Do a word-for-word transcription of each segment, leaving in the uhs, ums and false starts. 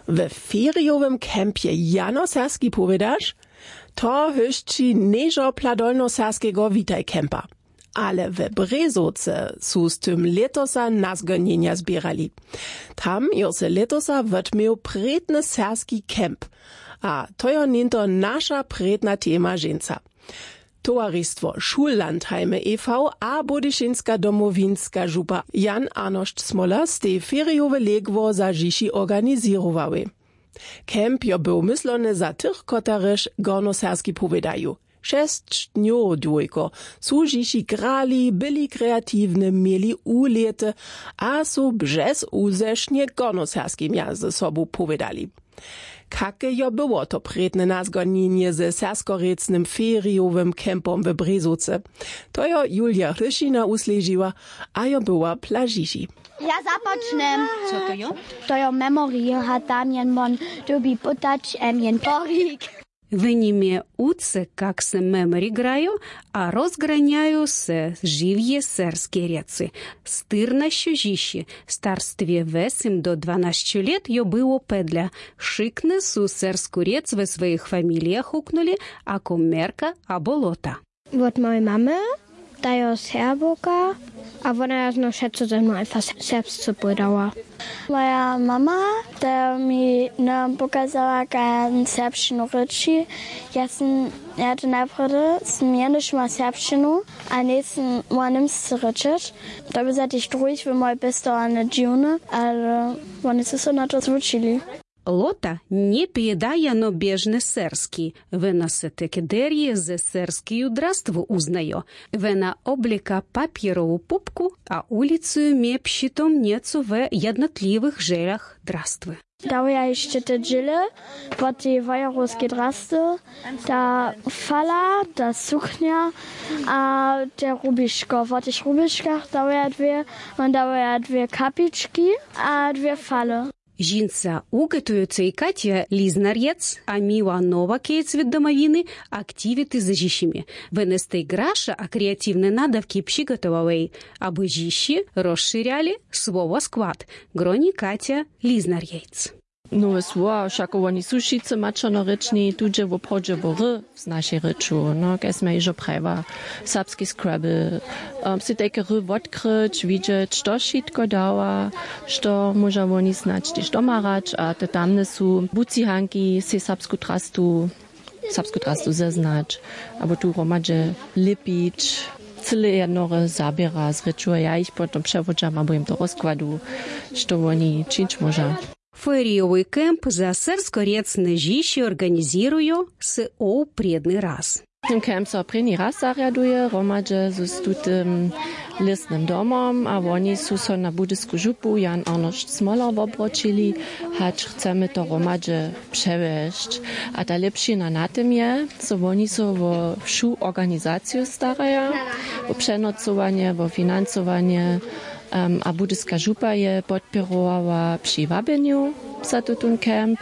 We ferijowym kempje janoserbski powědaš? To hyšći něžo pla dolnoserbskeho witaj kempa. Ale we Brězowce su z tym lětosa nazgonjenja zběrali. Tam jo se lětosa wotměł prědny serbski kemp. A to jo něhnto naša prědna tema ženca. Towaristwo Schullandheime e V a budyšinska domowinska župa Jan Arnošt Smoler stej ferijowe legło za žiši organizěrowałej. Kemp jo był myslony za tych, kotarež gornoserbski powědaju. Šesć dnjow dłujko su žiši grali, byli kreatiwny, měli ulěty a su břez uzešnje gornoserbskimja ze sobu powědali. Kake jo było to prědne nazgonjenje ze serskorěcnym ferijowym kempom w Brězowce? To jo Julia Hryšina wusležiła a jo była plažiši. Ja započnem. Co to jo? To jo memory a tam jen won dyrbi pytać em jen porik. W nim je uce kak se memory grajo a rozgranjajo se žiwje serske rěcy. Styrnašćo žiši starstwje wesym do dwanašćo lět jo było pedla. Wšikny su sersku rěc we swojich familijach huknuli ako merka abo lota. Wot mojej mamy, ta jo serbowka, a wona jo znow wšetco ze mną einfach serbsce powědała. Moja mama, ta mi nam pokazała kaž serbšćinu rěči. Ja sym ja to najprjedy sym jenož ma serbšćinu a njejsym ma němsce rěčeć. To by za tych druhich w mojej pěstowarnje dźiwne, ale woni su so na to zwučili. Lota njepěda jeno běžny serski. Wena se teke derje ze serskeju drastwu wuznajo. Wena oblěka papjerowu pupku a ulicuju mje při tom něco we jednotliwych želach drastwy. Dawaja hišće te dźěle wot tej wojerowskej drasty, ta fala, ta suknja a te rubiško. Wot tych rubiškach dawaja dwě, won dawaja dwě kapički a dwě fale. Žinca ugotowjecej Katja Liznarjec a Miła Nowakec w Domowiny aktiwity ze žišimi. Wone stej graša a kreatiwne nadawki přigotowałej, abo žiši rozšěrjali słowo skład. Groni Katja Liznarjec. Nowe słowa, wšako woni su wšitcy maćernorěčni, tu dźe woprawdźe wo ry z našej rěču, no, kaž smy hižo prajiła, serbski Scrabble. Um, sej tajke ry wotkryć, widźeć, što wšitko dawa, što móža woni snadź tež doma hrać, a te tamne su bucihanki, sej serbsku drastu, serbsku drastu zeznać, abo tu hromadźe lěpić. Cyle jednore zaběra z rěču a ja jich potom přewodźam abo jim to rozkładu, što woni čińć móža. Ferijowy kemp za serskorjecne žiši organizěrujo se ow prědny raz. Ten kemp so prěni raz zarjaduje hromadźe z tutym lěsnym domom a woni su so na budysku župu Jan Arnošt Smoler wobroćili, hač chcemy to hromadźe přewjesć. A ta lěpšina na tym je, zo woni so wo wšu organizaciju staraja, wo přenocowanje, wo financowanje, em, a budyska župa je podpěrowała při wabjenju za tutón kemp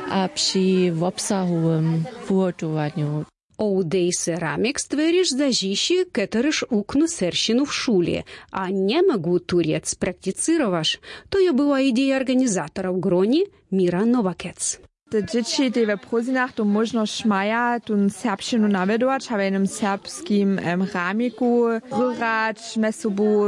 a při wobsahowym wuhotowanju. Ow dej se ramek stwěriš za žiši, kotryž wuknu serbšćinu w šuli a njemógł tu rjec prakticěrowaš. To jo była ideja organizatorow, groni Mira Nowakec. Te dźěći tej we prózdninach tu móžnosć maja tón serbšćinu nawjedować a w jenym serbskim, em, ramiku hrać mjez sobu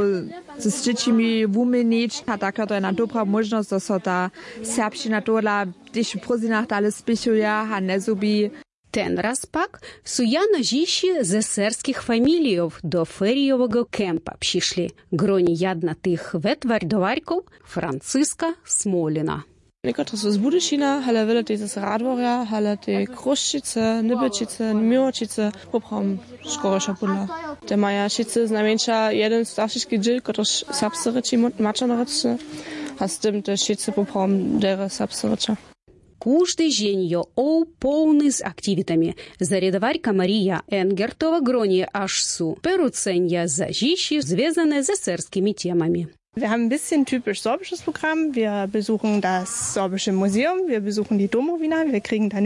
z dźěćimi wuměnić a tak to je jedna dobra móžnosć, zo so ta serbšćina tohodla tež w prózdninach dale spěchuje a njezhubi. Ten raz pak su jano žiši ze serbskich familijow do ferijoweho kempa přišli. Groni jedna tych wetwardowarkow Franciska Smolina. Někotrež su z Budyšina, ale wjele tež z Radworja, ale tež Chrósćicy, Nybjećicy, Měłoćicy, poprawom škoroša pódla. Te maja wšitcy znajmjeńša jeden staršiski dźěl, kotryž serbsce rěči, maćerno rěčny, a z tym tež wšitcy poprawom derje serbsce rěča. Kóždy dźeń jo ow połny z aktiwitami. Zarjadowarka Marija Engertowa groni, až su pěrucenja za žiši zwězane ze serbskimi temami. Wir haben ein bisschen typisch sorbisches Programm. Wir besuchen das Sorbische Museum, wir besuchen die Domowina, wir kriegen dann